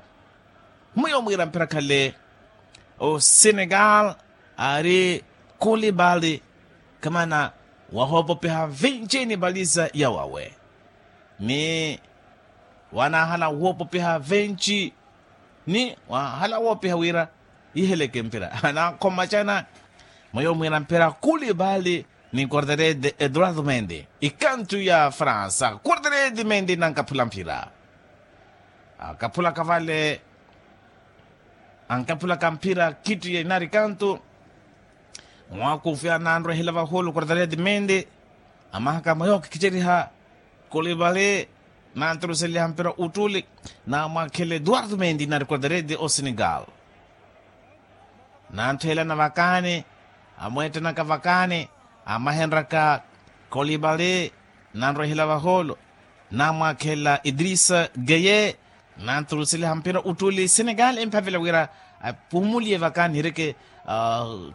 mwiyo mwiira mphira khale osenegal ari kulibali kamana wahoopopiha vinci ni baliza yawawe ni wanahala woopopiha vinci ni wahala woopiha wira iheleke mphira anakhomacana mwiyo mwiira mphira kulibali ni quartarede eduardo mendi ikantu ya fransa quartarede mendi nankaphula mphira akaphulaka vale ankaphulaka mphira khittiye inari kantu mwaakufya nanrwehela vahulu quartarede mendi amahaka mwayo khikiceriha kulibali nanturuseliha mphira uttuli namwakhela eduardo mendi inari quartarede osenegal nantthelana vakaani amweettanaka vakaani amahenraka kolibali nanrwehela vaholo namwaakhela idrisa geye nanturuseliha mphira uttuli senegal emphavela wira apumuliye vakaani hireke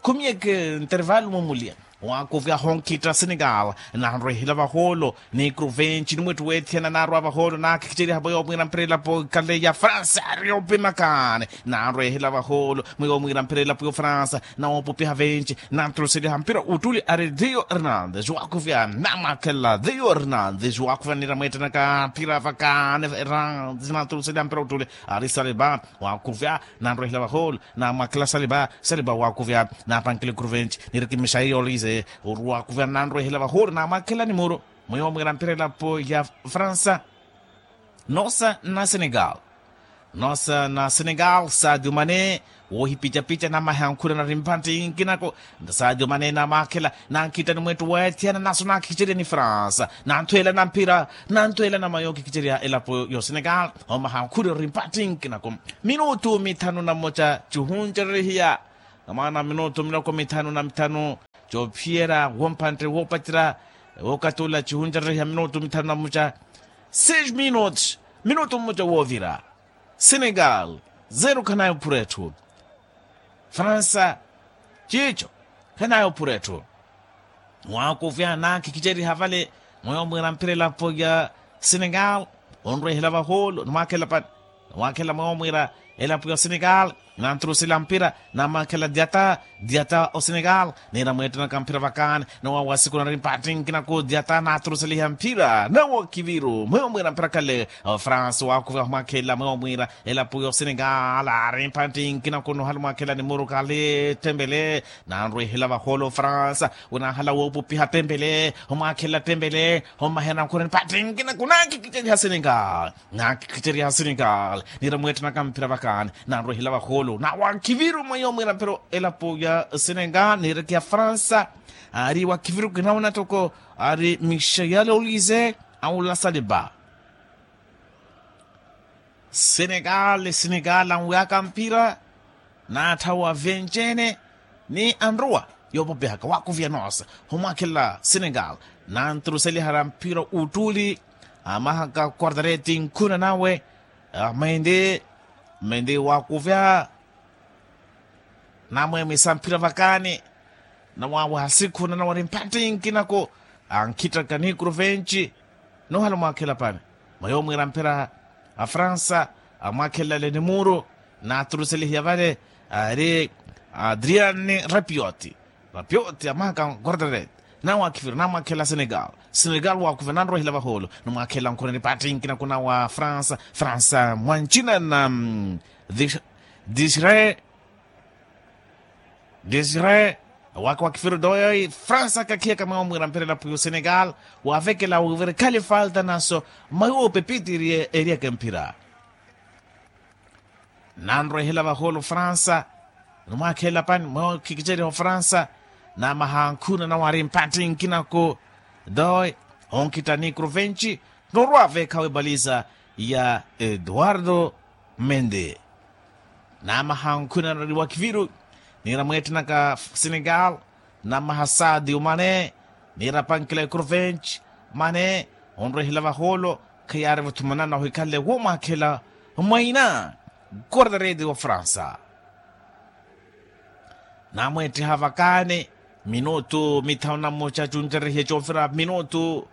khumiyeke ntervalu mumuliya waakuvya honkhitta senegal nanrwehela vaholo ni kruvenci ni mwettu weethiyana naarwa vaholo naakhikiceriha mweyo mwiira mphira elapo ikhale ya fransa ari opimakaani nanrwehela vaholo mweyo mwiira mphira elapo ya fransa nawoopupiha venci nanturuseliha mphira uttuli ari rio hernandes waakuvya namwaakhela rio hernandes waakuvya nira mweettanaka mphira vakaani hernandes nanturuseliha mphira uttuli ari saliba waakuvya nanrwehela vaholo namwaakhela saliba saliba waakuvya napankile kruvenci nirikimixaiya olize oru waakuvya nanrwehela vaholo namwaakhela nimuru mweyo mwiira mphira elapo ya fransa noosa na senegal Nosa na senegal sadio mane, wohipicapica namaha ankhuna nari mpattinkinako. Sadio mane namaakhela, nankhitta ni mwettu weethiyana naso naakhicereya ni fransa, nanthweela na mphira, nanthweela na mayo okhikicereya elapo yo senegal. Omaha ankhuna nari mpattinkinako. Minutu mithanu na mmoca cihuncererihiya. Mwaana minutu miloko mithanu na mithanu, coophiyerya wompantte woopacerya. Wookatula cihuncererihiya minutu mithanu na mmoca. Seis minutos, minutu mmoca woovira. Senegal, zero khanayo phura etthu. Fransa, ciico, khanayo phura etthu. Waakuvya naakhikiceriha vale, mweyo mwiira mpira elapo ya senegal. Onrwehela vahoolo nimwaakhela pani, nimwaakhela mweyo mwiira elapo ya senegal. Nanturusela mpira, namwaakhela diata, diata o senegal. Niira mweettenaka mpira vakaani, nawa wasiku nari mpattinkinaku diata naaturuseliha mpira nawa kiviru mweyo mwiira mpira khale. Fransa waakuvya humwaakhela mweyo mwiira elapo yo senegal ari mpattinkinaku nohala omwaakhela ni muru khale tembele. Nanrwehela vahoolo fransa, winahala woopupiha tembele, omwaakhela tembele. Omaha enankhuna nipattinkinaku naakhikiceriha senegal. Naakhikiceriha senegal, niira mweettenaka mpira vakaani, nanrwehela vahoolo nawa kiviru mweyo mwiira mpira elapo ya senegal niireke ya fransa. Ari wa kiviru kinawona toko, ari michel olise, aula saliba. Senegal, senegal anwiyaka mpira, naatthawa venjene ni anruwa yoopopihaka waakuvya noosa. Humwaakhela senegal, nanturuseliha na mpira uttuli. Amahaka quartareti nkhuna nawe, mende, mende waakuvya. Namweemisa mphira vakaani, nawawaha sikhuna nawari mpattinkinaku. Ankhitaka nikuru venci, nohala omwaakhela pani, mweyo mwiira mphira a fransa. Amwaakhela lenimuru, naaturuselihiya vale, ari adrian rapioti. Rapioti amahaka quartareti, nawa akhiviru namwaakhela senegal. Senegal waakuvya nanrwehela vahoolo, nimwaakhela nkhuna nipattinkinaku nawa fransa. Fransa mwancina na disre, disre, waka wa kifiru doyoi fransa kakhiyaka mweyo mwiira mpira elapo yo senegal. Waavekela wivira ekhale falta naso, mweyo pepiti eriyaka emphira. Nanrwehela vahoolo fransa, nimwaakhela pani mweyo khikiceriha ofransa. Namaha ankhuna nawari mpattinkinaku, doy, onkhitta nikuru venci, norwa veekhawe baliza ya eduardo mende. Namaha ankhuna nari wa kiviru, niira mweettenaka senegal. Namaha sadio mane, niira pankila ikuru venci. Mane, onrwehela vahoolo, khayaari vuthumanana ohikhanle womwaakhela mwaina, quartareti wa fransa. Namweettiha vakaani, minutu mithanu na mmoca cuncererihiye coovira minutu,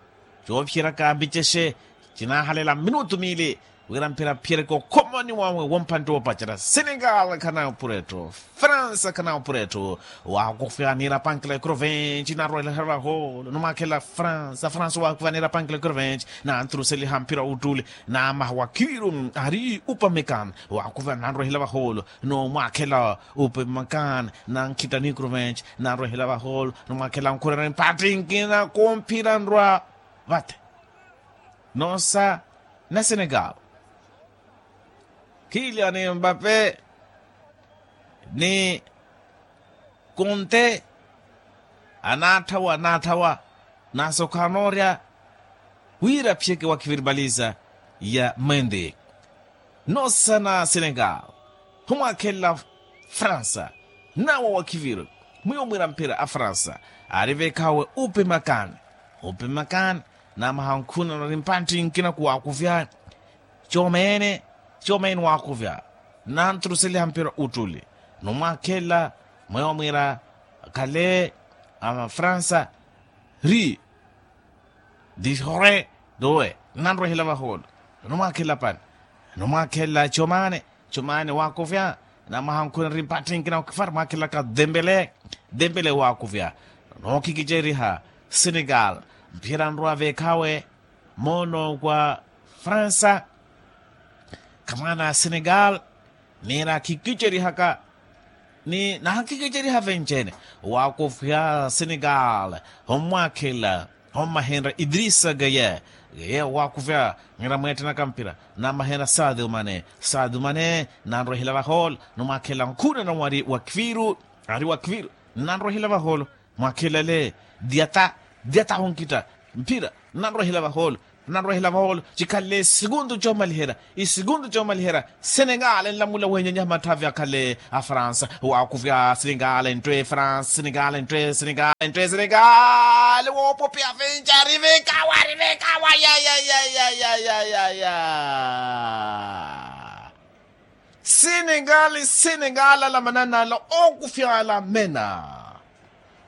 coophiyeraka mbicexe, cinaahalela minutu miili, wira mphira aphiyereke okhomoni wawe wompantte woopacerya. Senegal khanayo pura etthu, fransa khanayo pura etthu. Waakufya niira pankila ikuru venci narwelehera vahoolo nimwaakhela fransa fransa waakufya niira pankila ikuru venci, nanturuseliha mphira uttuli. Namaha wa kiviru ari upamekani, waakufya nanrwehela vahoolo, nomwaakhela upamekani, nankhitta nikuru venci, nanrwehela vahoolo nimwaakhela nkhurerya mpattinkinaku mphira nrwa vate. Noosa na senegal, kilian mbape ni konte, anaatthawa anaatthawa, naso khaanoorya wira aphiyeke wa kiviribaliza ya mende. Noosa na senegal, humwaakhelela fransa, nawa wa kiviru mwiyo mwiira mphira a fransa, ari veekhawe upimakani, upimakani. Namaha nkhuna nari mpantthi nkina kuwaakuvya, coomene, coomene waakuvya, nanturuseliha mphira uttuli, numwaakhelela mweyo mwiira khale a fransa, ri dihore, dowe nanrwehela vahoolo, numwaakhelela pani, numwaakhelela comane, comane waakuvya. Namaha nkhuna ri mpatthi nkina okifari mwaakhelelaka dembele, dembele waakuvya, nookikiceriha senegal, mphira nrwa veekhawe moono kwa fransa. Khamwaana a senegal, niira akhikicerihaka ni naakhikicerihaka venci-ene, waakufya senegal, hommwaakhelela, hommahenrya idrisa gaye, Yeeyo waakuvya, nira mweettenaka mpira, namahena sadio mane. Sadio mane nanrwehela vahoolo, ni mwaakhelela nkhuna na wari wa kviru. Ari wa kviru, nanrwehela vahoolo. Mwaakhelele, diata, diata hunkitta mphira, nanrwehela vahoolo, nanrwehela vahoolo. Cikhalle isikuntu coomaliherya, isikuntu coomaliherya. Senegal enlamula wenyanyaha matthavi akhale a fransa. Waakuvya senegal enttwe fransa senegal enttwe senegal enttwe senegal. Woopopiya vinca rivikawa rivikawa ya ya ya ya ya ya ya ya. Senegal senegal alamanana ala ookufya ala mena.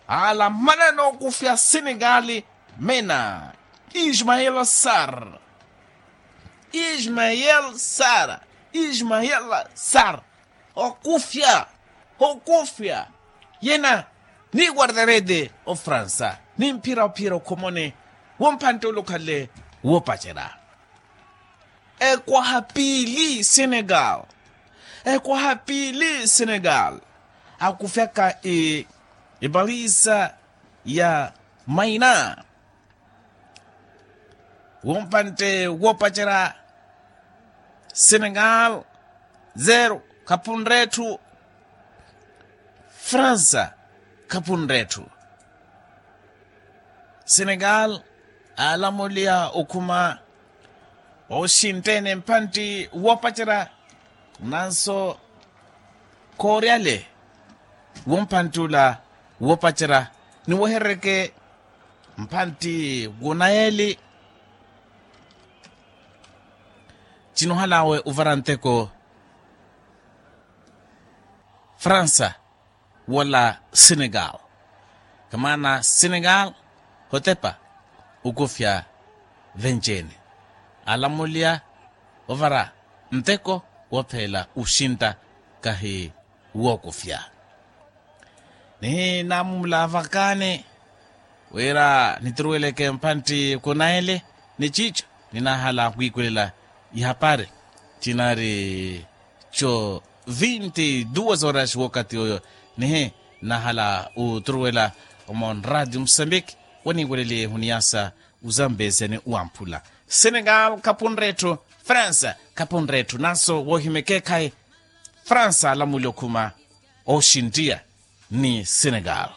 Alamanana ookufya senegal mena. Ismael sar. Ismael sar. Ismael sar. Ookufya. Ookufya. Yena ni guardarede ofransa ni mphira ophiyerya okhomoni. Wompantte ule okhale woopacerya. Ekwaha piili senegal. Ekwaha piili senegal. Akufyaka epalisa ya maina. Wompantte woopacerya. Senegal zero khapunre etthu. Fransa khapunre etthu. Senegal aalamuliya okhuma oxintte-ene mpantti woopacerya. Nanso khooryale wompantti ula woopacerya. Niweherereke mpantti wunayeli. Cinohalawe ovara nteko fransa wala senegal. Kamaana senegal hotepa okufya venci-ene. Alamuliya ovara nteko woophela oxintta kahi wookufya. Nihinamumula vakaani wira nituruweleke mpantti kunayele. Ni ciico ninahala wiikulela ihapari cinari co vinti duas horas wokati oyo. Nihi nahala uturuwela omo nradio musambiki waniiweleliye huniyasa uzambezya ni uwamphula. Senegal khapunre etthu. Fransa khapunre etthu nanso woohimya ekeekhayi fransa alamuli okhuma oxintiya ni senegal.